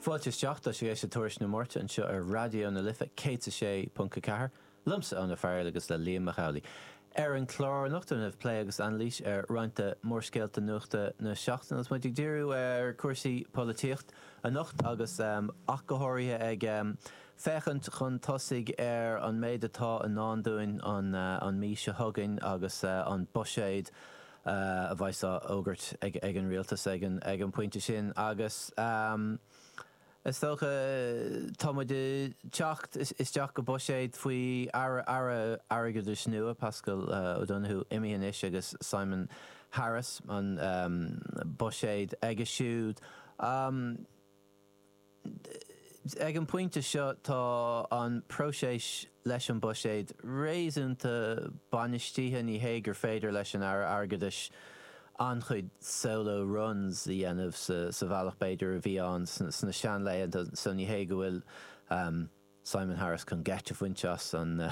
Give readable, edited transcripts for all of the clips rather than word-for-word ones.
Fáilte isteach, tá sibh ag éisteacht le Tuairisc na Máirte anseo ar Raidió na Life 106.4, liomsa Eoin Ó Fearghail agus le Liam Mac Amhlaigh. Ar an chlár anocht, déanfaimid plé agus anailís ar roinnt de mhórscéalta nuachta na seachtaine agus muid ag díriú ar chúrsaí polaitíocht anocht agus ach go háirithe ag féachaint chun tosaigh ar an méid atá i ndán dúinn an mhí seo chugainn agus an buiséad a bheas á fhógairt ag an rialtas ag an bpointe sin agus is dócha tá muid ag teacht isteach go buiséad faoi Aire Airgeadais nua, Paschal Donohoe imithe anois agus Simon Harris an buiséad aige siúd. Ag an bpointe seo tá an próiseas leis an buiséad réasúnta bainistithe. Ní hé gur féidir leis an Aire Airgeadais an-chuid solo runs a dhéanamh sa bhealach b'fhéidir a bhí ann sna seanlaethanta so ní hé go bhfuil Simon Harris chun geit a bhaint as an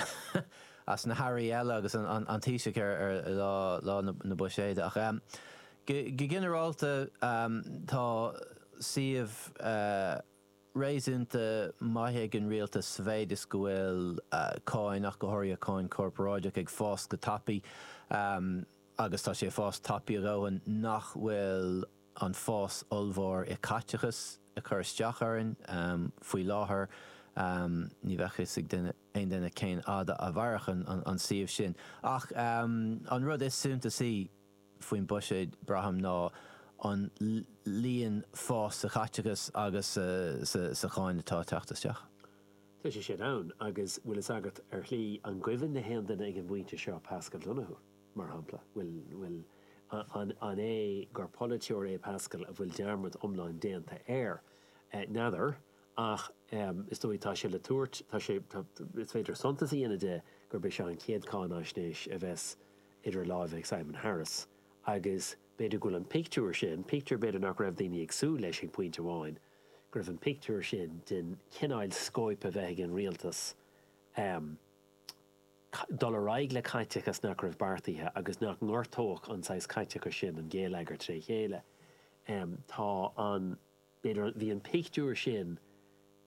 as na hairí eile agus an Taoiseach ar lá na buiséide. Ach go ginearálta tá suíomh réasúnta maith ag an rialtas sa mhéid is go bhfuil cáin, ach go háirithe cáin chorparáideach, ag fás go tapaidh agus tá sé ag fás tapaidh a dhóthain nach bhfuil an fás ollmhór i caiteachas ag cur isteach orainn faoi láthair. Ní bheadh fhios ag duine, aon duine cén fhad a mhairfeadh an suíomh sin. Ach an rud is suntasaí faoin buiséad, braithim, ná an líon fás sa chaiteachas agus sa cháin atá ag teacht isteach. Tá sé sin ann agus bhfuil fhios agat, ar shlí, an gcuimhin le haon duine ag an bpointe seo Paschal Donohoe? Mar shampla, bhfuil, an, an é gur polaiteoir é Paschal a bhfuil dearmad iomlán déanta air? N'fheadar, ach is dóigh tá sé le tabhairt, tá sé, tá, is féidir suntas a dhéanamh de gurb é seo an chéad cáinaisnéis a bheas idir láimhe ag Simon Harris agus b'fhéidir go bhfuil an pictiúr sin, pictiúr b'fhéidir nach raibh daoine ag súil leis ag pointe amháin, go raibh an pictiúr sin den chineál scóip a bheith ag an rialtas, dul ar aghaidh le caiteachas nach raibh beartaithe agus nach ngortódh an saghas caiteachais sin an geilleagar tré chéile. Tá an, b'fhéidir, bhí an pictiúr sin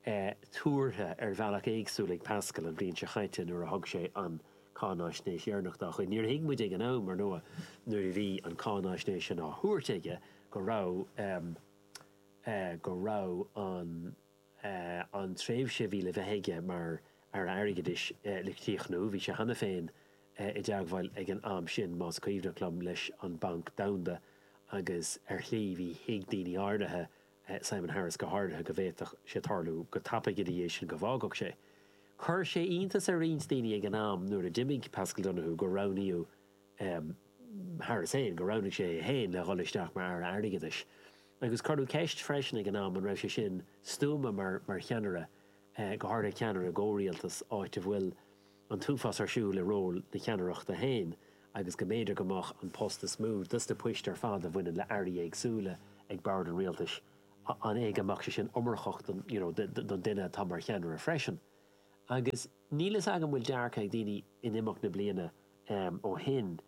tuartha ar bhealach éagsúil ag Paschal an bhliain seo chaite nuair a thug sé an cáináisnéis dheireanach dá chuid. Níor thuig muid ag an am, ar ndóigh, nuair a bhí an cáináisnéis sin á thabhairt aige go raibh, go raibh an. an tréimhse a bhí le bheith aige mar Aire Airgeadais le críochnú. Bhí sé cheana féin i dteagmháil ag an am sin, más cuimhneach liom, leis an Banc Domhanda agus ar shlí bhí thuig daoine áirithe, Simon Harris go háirithe, go bhféadfadh sé tarlú go tapaidh ina dhiaidh sin go bhfágfadh sé. Chuir sé iontas ar roinnt daoine ag an am nuair a d'imigh Paschal Donohoe gur roghnaíodh Harris féin, gur roghnaigh sé é féin le dhul isteach mar Aire Airgeadais. Agus cuireadh ceist freisin ag an am an raibh sé sin stuama mar mar cheannaire, go háirithe ceannaire i gcomhrialtas, áit a bhfuil an t-uafás ar siúl i ról na ceannaireachta féin agus go mb'fhéidir go mbeadh an post is mó dos na poist ar fad a bhaineann le airí éagsúla ag bord an rialtais, an é go mbeadh sé sin iomarcach don you know don duine atá mar cheannaire freisin. Agus níl fhios agam bhfuil dearcadh ag daoine in imeacht na bliana ó shin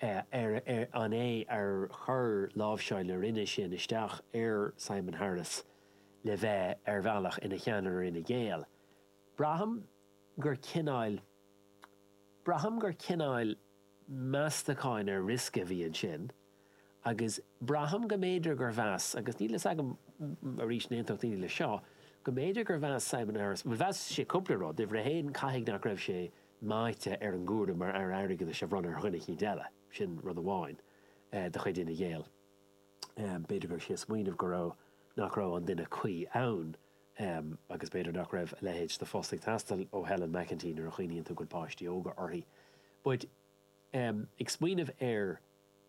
ar an é ar chuir láimhseáil na Roinne sin isteach ar Simon Harris le bheith ar bhealach ina cheannaire ar Fhine Gael. Braithim gur cineál, braithim gur cineál meastacháin ar riosca a bhí ansin agus braithim go mb'fhéidir gur mheas, agus níl fhios agam arís an aontódh daoine leis seo, go mb'fhéidir gur mheas Simon Harris, bhuel mheas sé cúpla rud, uimhir a haon caithfidh nach raibh sé meáite ar an gcúram mar Aire Airgeadais a bhronnadh ar dhuine eicínt eile, sin rud amháin, de chuid Fhine Gael. B'fhéidir go raibh sé ag smaoineamh go raibh, nach raibh an duine cuí ann agus b'fhéidir nach raibh a leithéid de phost ag teastáil ó Helen McEntee nuair a chuimhníonn tú go bhfuil páistí óga uirthi. But ag smaoineamh ar.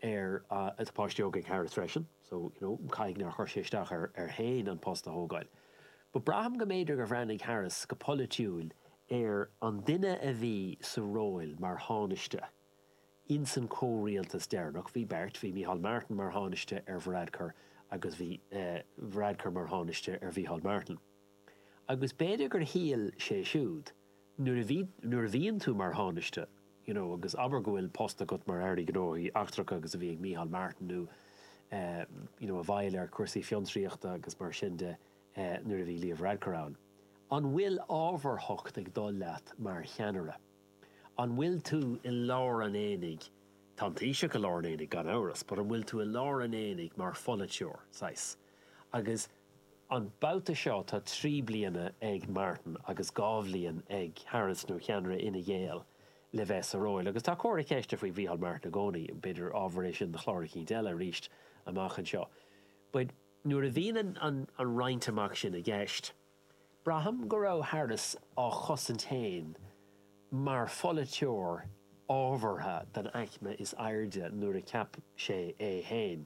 ar tá páistí óga ag Harris freisin so you know caithfidh nár chuir sé isteach air air féin an post a thógáil. But braithim go mb'fhéidir gur bhreathnaigh Harris go polaitiúil ar an duine a bhí sa róil mar Thánaiste ins an comhrialtas deireanach, bhí beirt, bhí Micheál Martin mar Thánaiste ar Varadkar agus bhí Varadkar mar Thánaiste ar Mhicheál Martin. Agus b'fhéidir gur shíl sé siúd nuair a bhí, nuair a bhíonn tú mar Thánaiste, you know agus abair go bhfuil post agat mar Aire Gnóthaí Eachtracha agus a bhí ag Micheál Martin nó eh you know i bhfeighil ar chúrsaí fiontraíochta agus mar sin de. Nuair a bhí Leo Varadkar ann. An bhfuil ábharthacht ag dul leat mar cheannaire? An bhfuil tú i lár an aonaigh, tá an Taoiseach i lár an aonaigh gan amhras, but an bhfuil tú i lár an aonaigh mar pholaiteoir, saghas? Agus an babhta seo tá 3 bliana ag Martin agus 2 bhliain ag Harris nó ceannaire Fhine Gael le bheith sa róil. Agus tá comhartha ceiste faoi Mhícheál Martin i gcónaí, b'fhéidir ábhar é sin do chlár eicínt eile arís amach anseo. But nuair a bhíonn an roinnt amach sin i gceist, braithim go raibh Harris á chosaint féin mar pholaiteoir ábhartha don aicme is airde nuair a cheap sé é féin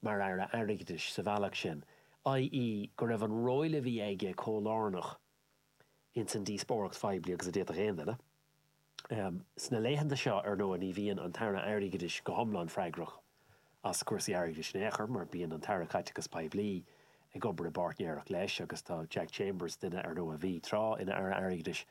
mar Aire Airgeadais sa bhealach sin, i.e. go raibh an ról a bhí aige chomh lárnach ins an díospóireacht phoiblí agus a d'fhéadfadh aon duine. Sna laethanta seo, ar ndóigh, ní bhíonn an tAire Airgeadais go hiomlán freagrach as cúrsaí airgeadais in aon chor, mar bíonn an tAire Caiteachais Poiblí ag obair i bpáirtnéireacht leis agus tá Jack Chambers, duine, ar ndóigh, a bhí tráth ina Aire Airgeadais,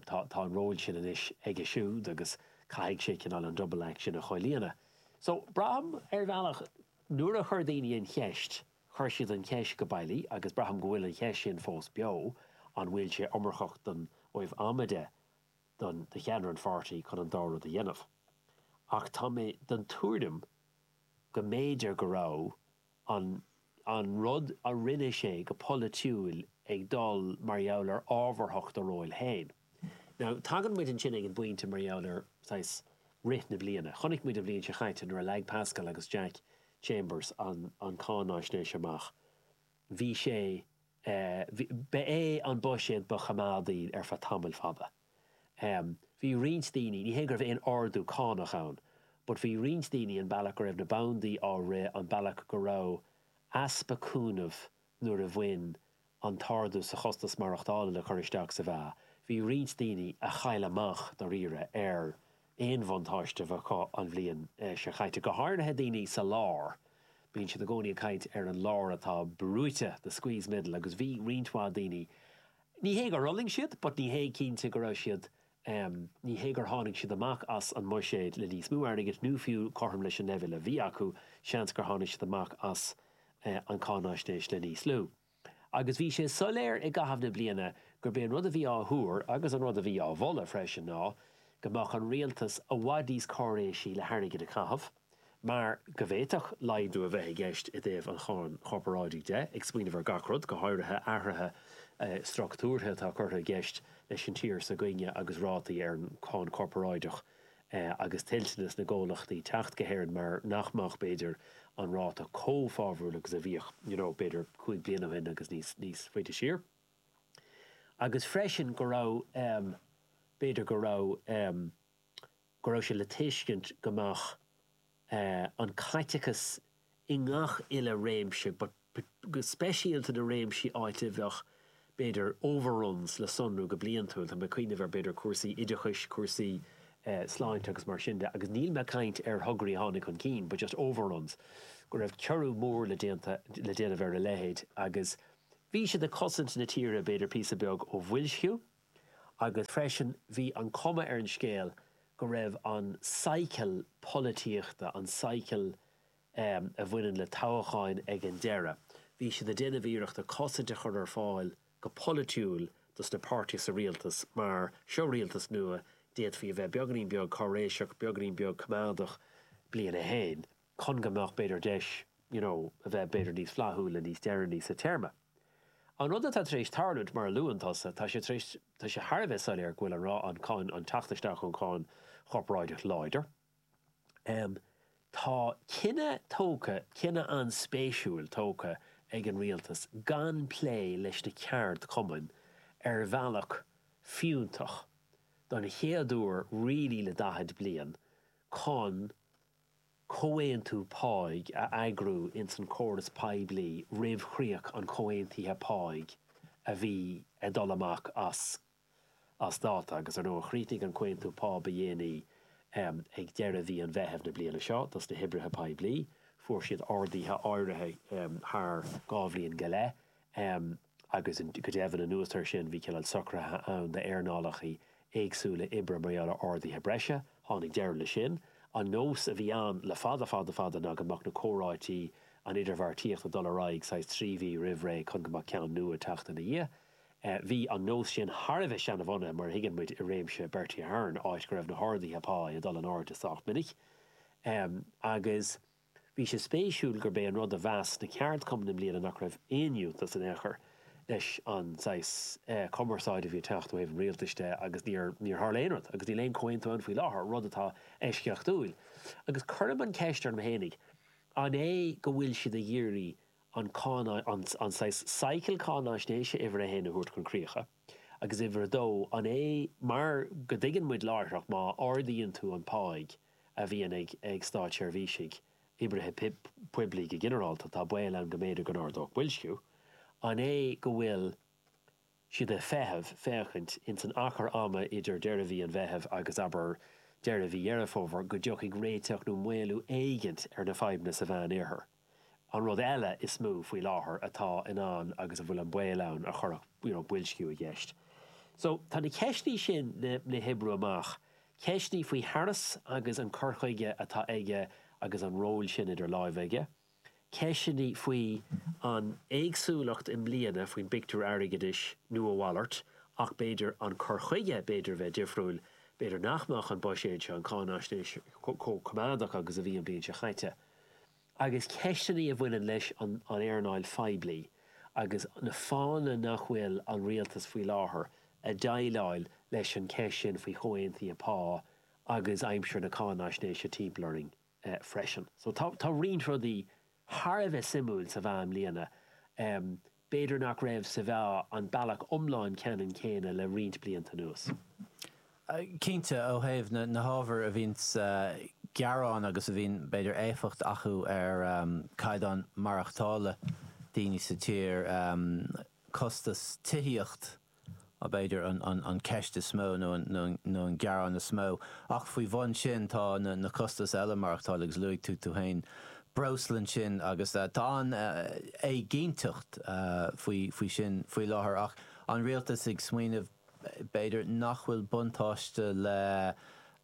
tá tá an ról sin anois aige siúd agus caithfidh sé cineál an double act sin a chomhlíonadh. So, braithim, ar bhealach, nuair a chuir daoine an cheist, Chuir siad an cheist go bailí, agus braithim go bhfuil an cheist sin fós beo, an bhfuil sé iomarcach don, ó thaobh ama de, don, do cheannaire an pháirtí chun an dá rud a dhéanamh. Ach tá mé den tuairim go mb'fhéidir go raibh an, an rud a rinne sé go polaitiúil ag dul mar gheall ar ábharthacht a róil féin. Now, tagann muid ansin ag an bpointe mar gheall ar, saghas, rith na bliana. Chonaic muid an bhliain seo chaite nuair a leag Paschal agus Jack Chambers an cáináisnéis amach. Bhí sé, ba é an buiséad ba choimeádaí ar feadh tamaill fada. Bhí roinnt daoine, ní hé go raibh aon ardú cánach ann, but bhí roinnt daoine, an bealach go raibh na bandaí á rith, an bealach go raibh easpa cúnaimh nuair a bhain an t-ardú sa chostas maireachtála le cur isteach sa mheá, bhí roinnt daoine a chaill amach, dáiríre, ar aon bhuntáiste a bheith acu an bhliain seo caite, go háirithe daoine sa lár. Bíonn siad i gcónaí ag caint ar an lár atá brúite, the squeezed middle, agus bhí roinnt mhaith daoine, ní hé gur fhulaing siad, but ní hé cinnte go raibh siad, ní hé gur tháinig siad amach as an mbuiséad le níos mó airgid nó fiú cothrom leis an leibhéal a bhí acu, seans gur tháinig siad amach as an cáináisnéis le níos lú. Agus bhí sé soiléir i gcaitheamh na bliana gurb é an rud a bhí á thuar, agus an rud a bhí á mholadh freisin, ná go mbeadh an rialtas i bhfad níos cáiréisí le hairgead a chaitheamh, mar go bhféadfadh laghdú a bheith i gceist i dtaobh an cháin chorparáidigh de, ag smaoineamh ar gach rud, go háirithe athruithe struchtúrtha atá curtha i gceist leis an tír s'againne agus rátaí ar an cháin chorparáideach. agus toilteanas na gcomhlachtaí teacht go hÉirinn mar nach mbeadh, b'fhéidir, an ráta chomh fábhrúil agus a bhíodh, you know, b'fhéidir 5 bliana ó shin agus níos, níos faide siar. Agus freisin go raibh, b'fhéidir go raibh, go raibh sé le tuiscint go mbeadh an caiteachas i ngach uile réimse but go speisialta na réimsí áit a bheadh, b'fhéidir, overruns le sonrú go bliantúil, tá mé ag cuimhneamh ar, b'fhéidir, cúrsaí oideachais, cúrsaí sláinte agus mar sin de, agus níl mé ag caint ar thograí a tháinig chun cinn, but just overruns, go raibh ciorrú mór le déanta, le déanamh ar a leithéid agus bhí siad ag cosaint na tíre, b'fhéidir, píosa beag ó bhoilsciú agus freisin bhí an cuma ar an scéal go raibh an cycle polaitíochta, an cycle a bhaineann le toghcháin ag an deireadh. Bhí siad ag déanamh iarrachta cosaint a chur ar fáil go polaitiúil dos na páirtithe sa rialtas mar seo rialtas nua, d'fhéadfaí a bheith beagáinín beag cáiréiseach, beagáinín beag coimeádach bliain a haon chun go mbeadh b'fhéidir deis you know a bheith b'fhéidir níos flaithiúla níos deireanaí sa téarma. An rud atá tar éis tarlúint, mar a luann tusa, tá sé tar éis, tá sé thar a bheith soiléir go bhfuil an, an cáin, an teacht isteach ón cháin chorparáideach láidir. Tá cinneadh tógtha, cinneadh an-spéisiúil tógtha ag an rialtas gan plé leis na ceardchumainn ar bhealach fiúntach don chéad uair really le 40 bliain chun comhaontú páigh a eagrú ins an chóras poiblí roimh chríoch an chomhaontaithe páigh a bhí ag dul amach as as dáta agus ar ndóigh chríochnaigh an comhaontú pá ba dhéanaí ag deireadh mhí an Mheithimh na bliana seo dos na hoibrithe poiblí. Fuair siad arduithe áirithe thar 2 bhliain go leith agus go deimhin anuas air sin bhí cineál socruithe ann d'earnálacha éagsúla oibre mar gheall ar arduithe breise. Tháinig deireadh leis sin. An nós a bhí ann le fada fada fada ná go mbeadh na comhráití. an idirbheartaíocht ag dul ar aghaidh saghas 3 mhí roimh ré chun go mbeadh ceann nua ag teacht ina dhiaidh. Bhí an nós sin thar a bheith seanabhunaithe, mar a thuigeann muid, i réimse Bertie Ahern, áit go raibh na harduithe pá ag dul in airde sách minic. Agus bhí sé spéisiúil gurb é an rud a mheas na ceardchumainn i mbliana nach raibh aon fhiúntas in aon chor leis an saghas cumarsáide a bhí ag teacht ó thaobh an rialtais de agus níor níor tharla aon rud agus níl aon chomhaontú ann faoi láthair, rud atá eisceachtúil. Agus cuirim an cheist orm fhéinig, an é go bhfuil siad ag iarraidh an cáin, an saghas cycle cáinaisnéise uimhir a haon a thabhairt chun críche, agus uimhir a dó, an é mar go dtuigeann muid láithreach má ardaíonn tú an pháigh a bhíonn ag ag státseirbhísigh, oibrithe poiblí go ginearálta, tá baol ann go mb'fhéidir go n-ardódh boilsciú, an é go bhfuil siad ag feitheamh féachaint ins an achar ama idir deireadh mhí an Mheithimh agus, abair, deireadh mhí Dheireadh Fómhair go dtiocfaidh réiteach nó maolú éigint ar na fadhbanna sa Mheán-Oirthear. An rud eile is mó faoi láthair atá in ann agus a bhfuil an baol ann a chuirfeadh you know boilsciú i gceist. So tá na ceisteanna sin le le hoibriú amach. Ceisteanna faoi Harris agus an cur chuige atá aige agus an ról sin idir láimhe aige. Ceisteanna faoi an éagsúlacht i mbliana faoin bpictiúr airgeadais nó a mhalairt ach b'fhéidir an cur chuige b'fhéidir a bheith difriúil, b'fhéidir nach mbeadh an buiséad seo, an cáinaisnéis chomh coimeádach agus a bhí an bhliain seo chaite. Agus ceisteanna a bhaineann leis an earnáil phoiblí agus na fáthanna nach bhfuil an rialtas faoi láthair ag déileáil leis an cheist sin faoi chomhaontuithe pá agus aimsir na cáinaisnéise timpeall orainn freisin. So tá tá roinnt rudaí thar a bheith suimiúil sa mheá i mbliana. B'fhéidir nach raibh sa mheá an bealach iomlán ceannann céanna le roinnt blianta anuas. Cinnte, ó thaobh na hábhair a bhíonns gearán agus a bhíonn, b'fhéidir, éifeacht acu ar chaighdeán maireachtála daoine sa tír, costas tithíocht, b'fhéidir, an cheist is mó nó an gearán is mó. Ach faoi bhun sin tá na costais eile maireachtála agus luaigh tú tú féin breosla ansin agus tá an-éiginnteacht faoi sin faoi láthair. Ach an rialtas ag smaoineamh b'fhéidir nach bhfuil buntáiste le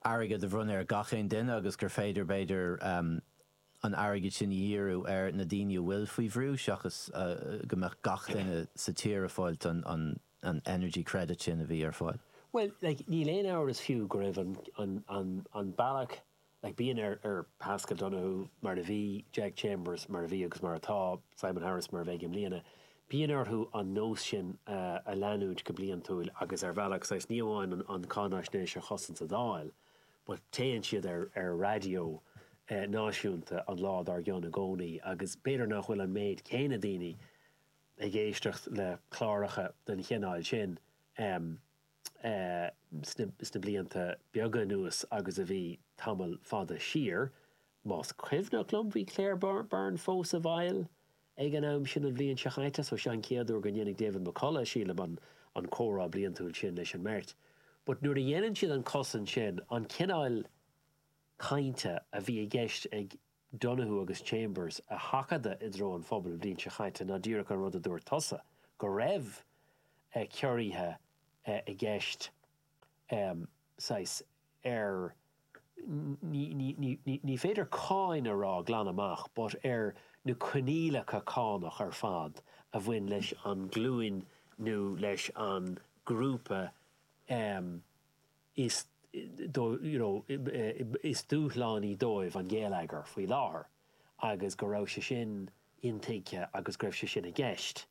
airgead a bhronnadh ar gach aon duine agus gur féidir b'fhéidir an airgead sin a dhíriú ar na daoine a bhfuil faoi bhrú seachas go mbeadh gach duine sa tír ag fáilt an an energy credit sin a bhí ar fáil. Bhuel, like, níl aon amhras fiú go raibh an, an, an, an bealach, like, bíonn ar, ar Paschal Donohoe, mar a bhí Jack Chambers, mar a bhí agus mar atá Simon Harris, mar a bheidh i mbliana, bíonn orthu an nós sin a, a leanúint go bliantúil agus ar bhealach saghas ní amháin an, an cáinaisnéis a chosaint sa Dáil, but téann siad ar ar raidió náisiúnta an lá dár gcionn i gcónaí agus b'fhéidir nach bhfuil an méid céanna daoine ag éisteacht le cláracha den chineál sin sna blianta beaga anuas agus a bhí tamall fada siar. Más cuimhneach liom bhí Claire Byrne fós i bhfeighil Ag an am sin an bhliain seo chaite, so seo an chéad uair go ndéanfaidh David McCullough, sílim, an an comhrá bliantúil sin leis an mbeirt. But nuair a dhéanann siad an cosaint sin, an cineál cainte a bhí i gceist ag Donohoe agus Chambers a sheachadadh i dtreo an phobail an bhliain seo chaite ná díreach an rud a dúirt tusa, go raibh ciorruithe i gceist saghas ar, ní féidir cáin a rá glan amach, but ar na coinníollacha cánach ar fad a bhain leis an nglúin nó leis an grúpa is you know is dúshlánaí dóibh an geilleagar faoi láthair agus go raibh sé sin intuigthe agus go raibh sé sin i gceist.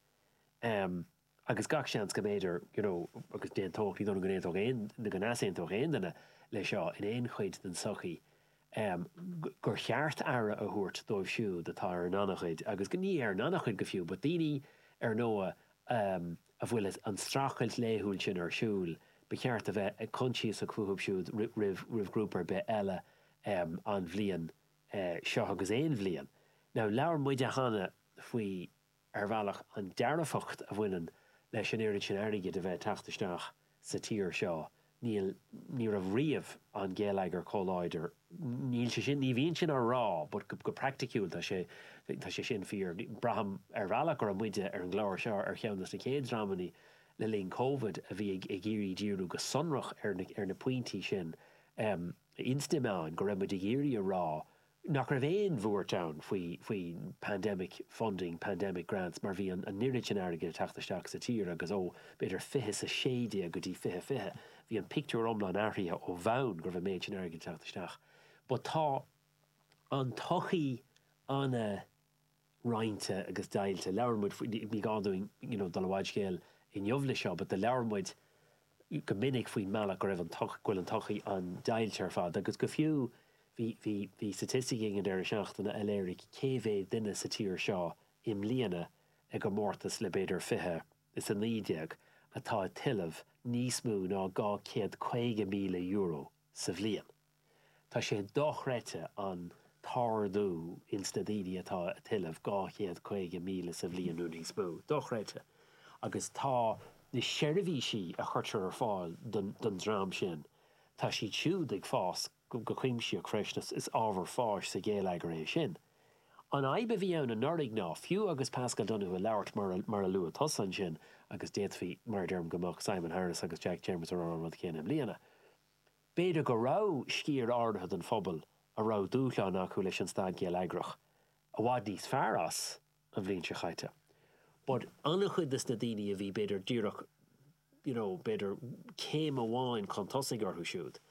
Agus gach seans go mb'fhéidir, you know, agus d'aontódh, ní dóigh liom go n-aontódh aon, nó go n-easaontódh aon duine le seo in aon chuid den tsochaí, gur cheart aire a thabhairt dóibh siúd atá ar an ngannchuid, agus ní ar an ngannchuid go fiú, but daoine ar ndóigh a bhfuil an streachailt laethúil sin ar siúl, ba cheart a bheith coinsiasach fúthu siúd roimh, roimh ghrúpa ar bith eile an bhliain seo agus aon bhliain. Now labhair muide cheana faoi ar bhealach, an dearfacht a bhaineann leis an oiread sin airgid a bheith ag teacht isteach sa tír seo. Níl, ní raibh riamh an geilleagar chomh láidir. Níl sé sin, ní bhíonn sin á rá but go praiticiúil tá sé, tá sé sin fíor. Braithim ar bhealach go raibh muide ar an gclár seo ar cheann de na chéad dreamanna le linn Covid a bhí ag ag iarraidh díriú go sonrach ar na, ar na pointí sin ins na meáin, go raibh muid ag iarraidh a rá. nach raibh aon bhuairt ann faoi faoi pandemic funding, pandemic grants mar bhí an an oiread sin airgid ag teacht isteach sa tír agus ó b'fhéidir 20 is 16 go dtí 2020 bhí an pictiúr iomlán athraithe ó bhonn go raibh an méid sin airgid ag teacht isteach. But tá an tsochaí ana roinnte agus deighilte. Labhair muid faoi, ní gá dúinn you know dul i bhfad scéil inniu le seo but do labhair muid go minic faoin mbealach go raibh an go bhfuil an tsochaí an-deighilte ar fad agus go fiú bhí bhí bhí statistic ag an deireadh seachtaine a léirigh cé mhéad duine sa tír seo i mbliana i gcomórtas le b'fhéidir 20 is 19 atá ag tuilleamh níos mó ná €250,000 sa bhliain. Tá sé dochreidte an t-ardú ins na daoine atá ag tuilleamh 250,000 sa bhliain nó níos mó. Dochreidte. Agus tá na seirbhísí a chuirtear ar fáil don dream sin, tá siad siúd ag fás go cuimsitheach freisin. Is ábhar fáis sa ghéilleagar é sin. An fhadhb a bhí ann anuraidh ná, fiú agus Paschal Donohoe ag labhairt mar a luaigh tusa ansin, agus d'fhéadfaí, mar a deirim, go mbeadh Simon Harris agus Jack Chambers ag rá an rud céanna i mbliana, B'fhéidir go raibh sciar áirithe den phobal a raibh dúshláin acu leis an staid ghéilleagrach i bhfad níos fearr as an bhliain seo chaite. But an-chuid des na daoine a bhí b'fhéidir díreach you know b'fhéidir céim amháin chun tosaigh orthu siúd,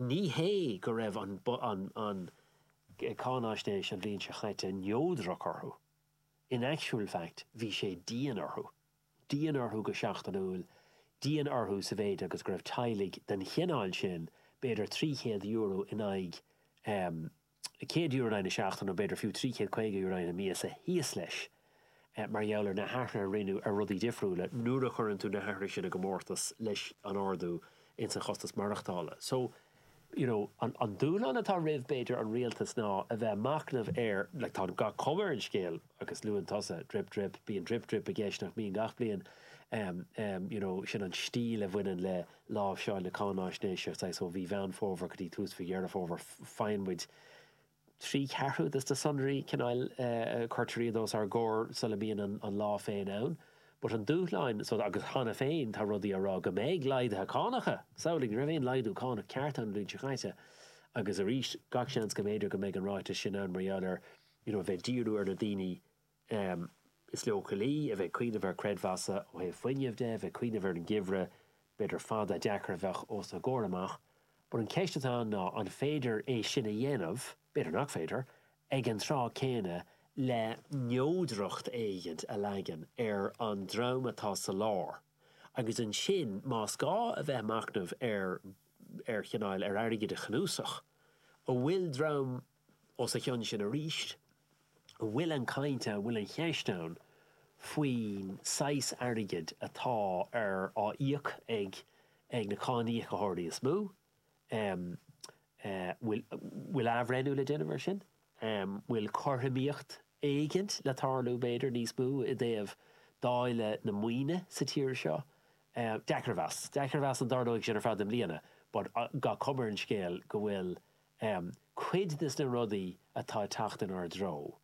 ní hé go raibh an an an cáinaisnéis an bhliain seo chaite neodrach orthu. In actual fact bhí sé dian orthu. dian orthu go seachtainiúil, dian orthu sa mhéid agus go raibh teaghlaigh den chineál sin b'fhéidir €300 in aghaidh, €100 in aghaidh na seachtaine nó b'fhéidir fiú €350 in aghaidh na míosa thíos leis mar gheall ar na hathruithe a rinneadh ar rudaí difriúla nuair a chuireann tú na hathruithe sin i gcomórtas leis an ardú ins an chostas maireachtála. So. you know, an, an dúshlán atá roimh, b'fhéidir, an rialtas ná a bheith ag machnamh ar, like, tá gach cuma ar an scéal, agus luann tusa drip drip, bíonn drip drip i gceist nach mbíonn gach bliain, em, em, you know, sin an stíl a bhaineann le láimhseáil na cáináisnéise, saghas ó mhí Mheán Fómhair go dtí tús mhí Dheireadh Fómhair, faigheann muid, 3 cheathrú des na sonraí, cineál, cuirtear iad os ár gcomhair sula mbíonn an lá féin ann. But an dúshláin, so, agus cheana féin tá rudaí á rá go mbeidh laghduithe cánacha, samhlaigh, ní raibh aon laghdú cánach ceart ann an bhliain seo chaite agus arís gach seans go mb'fhéidir go mbeidh an ráiteas sin ann mar gheall ar, you know, a bheith ag díriú ar na daoine is leochailí, a bheith ag cuimhneamh ar creidmheasa ó thaobh fuinnimh de, a bheith ag cuimhneamh ar an gheimhreadh, b'fhéidir fada, deacair a bheadh os a gcomhair amach. But an cheist atá ann ná an féidir é sin a dhéanamh, b'fhéidir nach féidir, ag an tráth céanna le neodracht éigint a leagan ar an dream atá sa lár agus ansin más gá a bheith ag machnamh ar ar chineál ar airgead a chnuasach, an bhfuil dream os a chionn sin arís, an bhfuil an chaint ann, an bhfuil an cheist ann faoin saghas airgid atá ar á íoc ag ag na cáiníocaitheoirí is mó? Bhfuil bhfuil athbhreithniú le déanamh air sin? Bhfuil cothromaíocht éigint le tarlú, b'fhéidir, níos mó i dtaobh dáileadh na maoine sa tír seo? Deacair a mheas. Deacair a mheas an dtarlóidh sin ar fad i mbliana, but gach cuma ar an scéal go bhfuil Cuid des na rudaí atá ag teacht inár dtreo,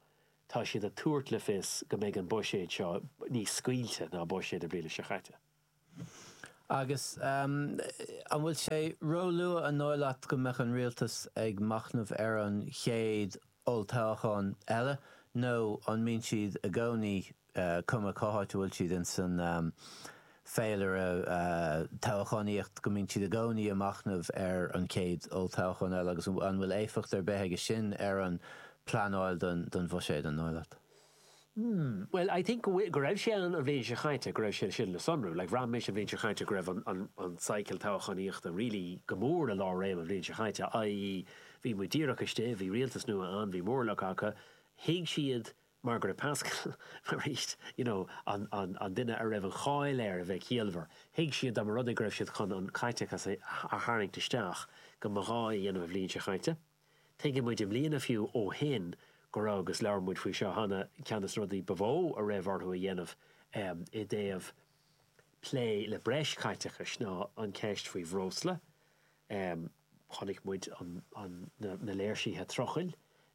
tá siad ag tabhairt le fios go mbeidh an buiséad seo níos scaoilte ná buiséad na bliana seo chaite. Agus an bhfuil sé róluath, an dóigh leat, go mbeadh an rialtas ag machnamh ar an chéad olltoghchán eile nó an mbíonn siad i gcónaí cuma cá háit a bhfuil siad ins an féilire toghchánaíocht, go mbíonn siad i gcónaí ag machnamh ar an chéad olltoghchán eile agus an bhfuil éifeacht ar bith aige sin ar an pleanáil don bhuiséad, an dóigh leat? Hmm, well I think go bhfuil, go raibh sé ann an bhliain seo chaite, go raibh sé sin le sonrú. Like bhraith mise an bhliain seo chaite go raibh an, an, an cycle toghchánaíochta really go mór i lár réim an bhliain seo chaite, i.e. bhí muid díreach istigh, bhí rialtas nua ann, bhí mórlach acu, thuig siad mar go raibh Paschal, arís, you know, an, an, an duine a raibh an cháil air a bheith ciallmhar. Thuig siad dá mba rud é go raibh siad chun an caiteachas a, a tharraingt isteach, go mba ghá é a dhéanamh an bhliain seo chaite. Tuigeann muid i mbliana fiú ó shin go raibh, agus labhair muid faoi seo cheana, ceann de na rudaí ba mhó a raibh orthu a dhéanamh i dtaobh plé le breis caiteachais ná an cheist faoi bhreosla. Chonaic muid na léirsithe trucail,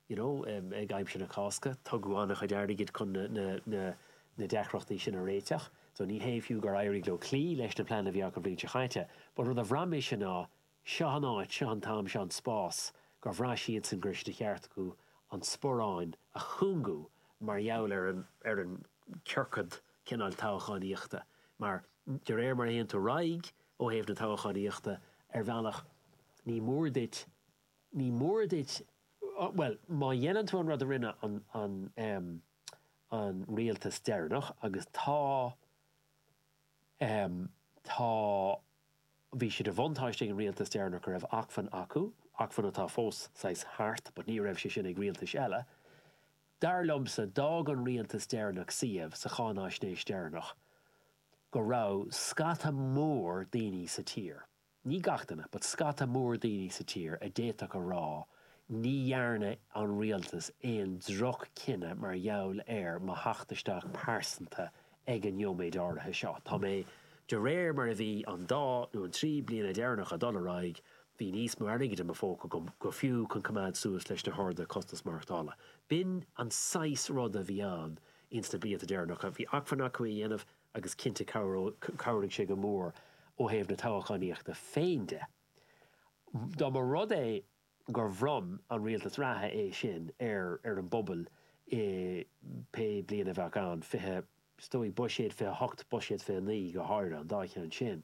you know, ag aimsir na Cásca. Tugadh an-chuid airgid chun na deacrachtaí sin a réiteach. So ní hé fiú gur éirigh leo cloí leis na pleananna a bhí acu an bhliain seo chaite, but rud a bhraith mise ná seo an áit, seo an t-am, seo an spás gur bhraith siadsan go raibh sé de cheart acu an sparáin a chúngú mar gheall ar an ar an ciorcad cineál toghchánaíochta mar de réir mar a théann tú ar aghaidh ó thaobh na toghchánaíochta ar bhealach ní mór duit ní mór duit bhuel má dhéanann tú an rud a rinne an an an rialtas deireanach agus tá tá Bhí sé de bhuntáiste ag an rialtas deireanach go raibh acmhainn acu, acmhainn atá fós saghas thart, but ní raibh sé sin ag rialtais eile. Dar liomsa, d'fhág an rialtas deireanach suíomh sa cháináisnéis deireanach go raibh scata mór daoine sa tír, ní gach duine, but scata mór daoine sa tír a d'fhéadfadh a rá ní dhearna an rialtas aon droch-chinneadh mar gheall ar mo theacht isteach pearsanta ag an neoiméid áirithe seo. Tá mé, de réir mar a bhí an dá nó an trí bliana deireanacha ag dul ar aghaidh, bhí níos mó airgid i mo phóca agam go fiú chun coimeád suas leis na harduithe costas maireachtála. B'in an saghas ruda a bhí ann ins na blianta deireanacha. Bhí acmhainn acu é a dhéanamh agus cinnte chabhraigh sé go mór ó thaobh na toghchánaíochta féin de. Dá mba rud é gur bhronn an rialtas reatha é sin ar ar an bpobal i pé bliain a bheadh ann, 20, is dóigh, buiséad 28, buiséad 29 go háirithe, an dá cheann sin,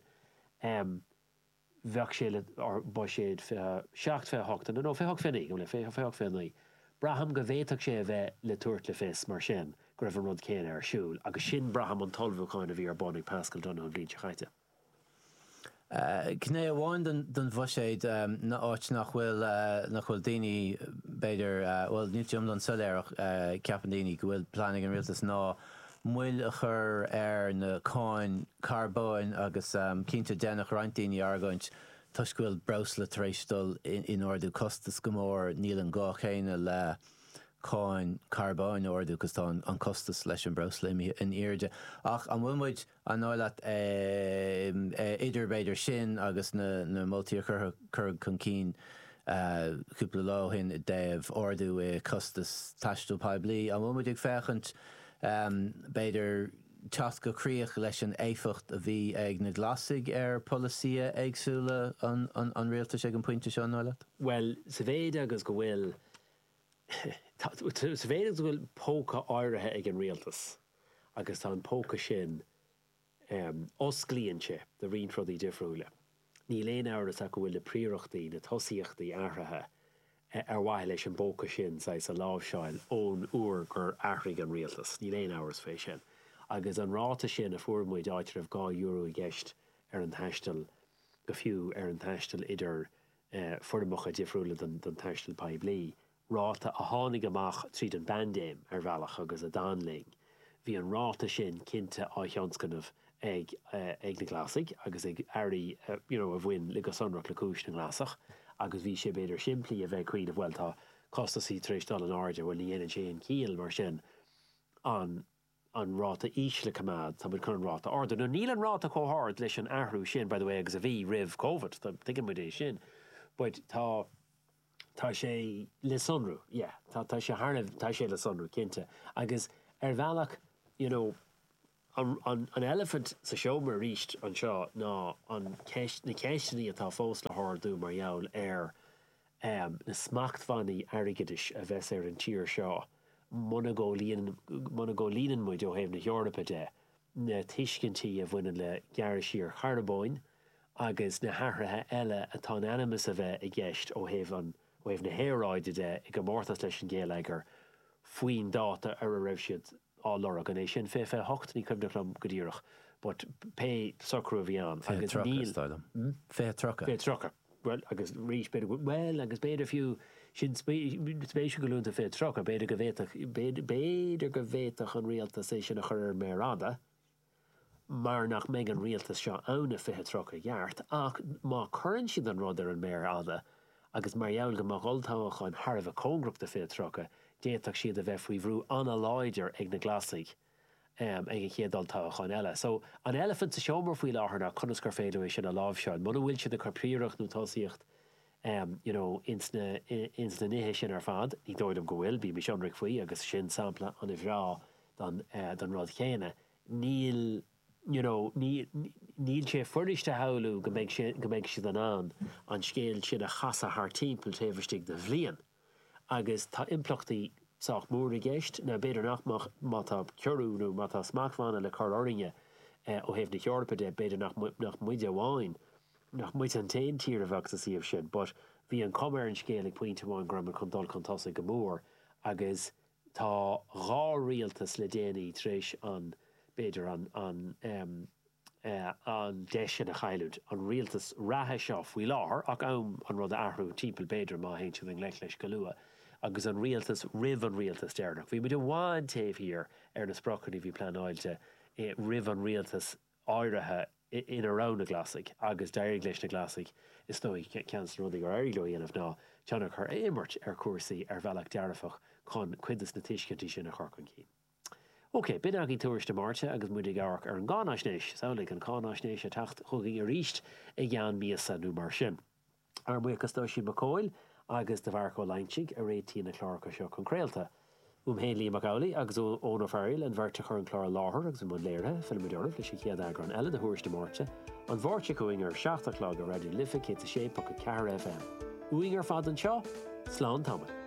bheadh sé le, or buiséad 27, 28, no, 28, 29, gabh mo leith, 28, 29. Braithim go bhféadfadh sé a bheith le tabhairt le fios, mar sin, go raibh an rud céanna ar siúl, agus sin, braithim, an t-ullmhúchán a bhí ar bun ag Paschal Donohoe an bhliain seo chaite. Gné amháin den bhuiséad ná áit nach bhfuil, nach bhfuil daoine, b'fhéidir, bhuel níl sé iomlán soiléir ach ceapann daoine go bhfuil plean ag an rialtas ná moill a chur ar na cáin carbóin agus cinnte déanfadh roinnt daoine argóint toisc go bhfuil breosla tar éis dul in ardú costas go mór níl an gá céanna le cáin carbóin a ardú cos tá an costas leis an breosla imithe in airde. Ach an bhfuil muid An dóigh leat, idir b'fhéidir sin agus na moltaí a cuireadh chun cinn cúpla lá ó shin i dtaobh ardú i costas taisteal poiblí, an bhfuil muid ag féachaint b'fhéidir teacht go críoch leis an éifeacht a bhí ag na Glasaigh ar pholasaithe éagsúla an rialtais ag an bpointe seo, an dóigh leat? Bhuel, sa mhéid agus go bhfuil, sa mhéid agus go bhfuil póca áirithe ag an rialtas, agus tá an póca sin, osclaíonn sé do roinnt rudaí difriúla. Níl aon amhras ach go bhfuil na príorachtaí, na tosaíochtaí athraithe ar mhaithe leis an bpóca sin saghas a láimhseáil ón uair gur athraigh an rialtas. Níl aon amhras fé sin. Agus an ráta sin a fuair muid, áit a raibh €2 i gceist ar an taisteal, go fiú ar an taisteal idir foirmeacha difriúla den taisteal poiblí, ráta a tháinig amach tríd an bpaindéim, ar bhealach, agus a d'fhan linn. Bhí an ráta sin cinnte á thionscnamh ag ag na Glasaigh agus ag airí you know a bhain le go sonrach le cúis na nGlasach agus bhí sé b'fhéidir simplí a bheith ag cuimhneamh bhuel tá costasaí tar éis dul in airde, bhuel ní dhéanann sé aon chiall mar sin an an ráta íseal a choimeád, tá muid chun an ráta a ardú. Now níl an ráta chomh hard leis an athrú sin, by the way, agus a bhí roimh Covid, tuigeann muid é sin, but tá, tá sé le sonrú, yeah, tá, tá sé thar a, tá sé le sonrú, cinnte. Agus ar bhealach, you know, an, an, an eilifint sa seomra arís anseo ná an ceist, na ceisteanna atá fós le hardú mar gheall ar, na smachtbhannaí airgeadais a bheas ar an tír seo muna gcomhlíonann muid ó thaobh na hEorpa de na tuiscintí a bhaineann le gearradh siar carbóin agus na hathruithe eile atá in ainm is a bheith i gceist ó thaobh an ó thaobh na haeráide de i gcomórtas leis an ghéilleagar faoin dáta ar a raibh siad á lorg. An é sin 2028? Ní cuimhneach liom go díreach but pé socrú a bhí ann agus 2030 níl. is dóigh liom. 2030. 2030. Bhuel, agus arís, b'fhéidir go, bhuel, agus b'fhéidir fiú, sin spéisiúil go luann tú 2030, b'fhéidir go bhféadfadh, b'fhéidir go bhféadfadh an rialtas é sin a chur ar an méar fhada, mar nach mbeidh an rialtas seo ann i 2030 i gceart, ach má cuireann siad an rud ar an méar fhada, agus mar gheall go mbeadh olltoghchán thar a bheith cóngarach do 2030, d'fhéadfadh siad a bheith faoi bhrú an-láidir ag na Glasaigh ag an chéad olltoghchán eile. So, an eilifint sa seomra faoi láthair ná conas gur féidir leo é sin a láimhseáil. Muna bhfuil siad ag cur príoracht nó tosaíocht you know ins na ins na nithe sin ar fad, ní dóigh liom go bhfuil, bímis ionraic faoi agus sin sampla an-bhreá den den rud chéanna. Níl you know ní níl sé fuirist a shamhlú go mbeidh sé go mbeidh siad in ann an scéal sin a chasadh thar timpeall taobh istigh de bhliain. Agus tá impleachtaí sách mór i gceist. Now b'fhéidir nach mbeadh má tá ciorrú nó má tá smachtbhanna le cur orainne ó thaobh na hEorpa de, b'fhéidir nach nach muide amháin, nach muide an t-aon tír a bheadh sa suíomh sin. But bhí an chuma ar an scéal ag pointe amháin go raibh muid chun dul chun tosaigh go mór agus tá dhá rialtas le déanaí tar éis an, b'fhéidir an, an em, an deis sin a chailliúint, an rialtas reatha seo faoi láthair, ach am an rud a athrú timpeall b'fhéidir má théann siad i ngleic leis go luath, agus an rialtas roimh an rialtas deireanach. Bhí muid i bhfad taobh thiar ar na spriocanna a bhí pleanáilte roimh an rialtas áirithe ina raibh na Glasaigh agus d'éirigh leis na Glasaigh, is dóigh, ceann de na rudaí gur éirigh leo a dhéanamh ná tionchar a imirt ar chúrsaí ar bhealach dearfach chun cuid de na tuiscintí sin a chur chun cinn. Ok, b'in againn Tuairisc na Máirte agus muid ag amharc ar an gcáinaisnéis. Samhlaigh an cáinaisnéis ag teacht chugainn arís i gceann míosa nó mar sin. Ár mbuíochas d'Oisín Mac Cóil agus do Mharc Ó Loingsigh a réitíonn na cláracha seo chun craolta. Uaim féin Liam Mac Amhlaigh agus ó Eoin Ó Fearghail, an bheirt a chuir an clár i láthair agus i mbun léirithe, fillfimid oraibh leis an chéad eagrán eile de Thuairisc na Máirte, an Mháirt seo chugainn ar a 7 a chlog ar Raidió na Life 106.4 FM. Uainn ar fad anseo, slán tamall.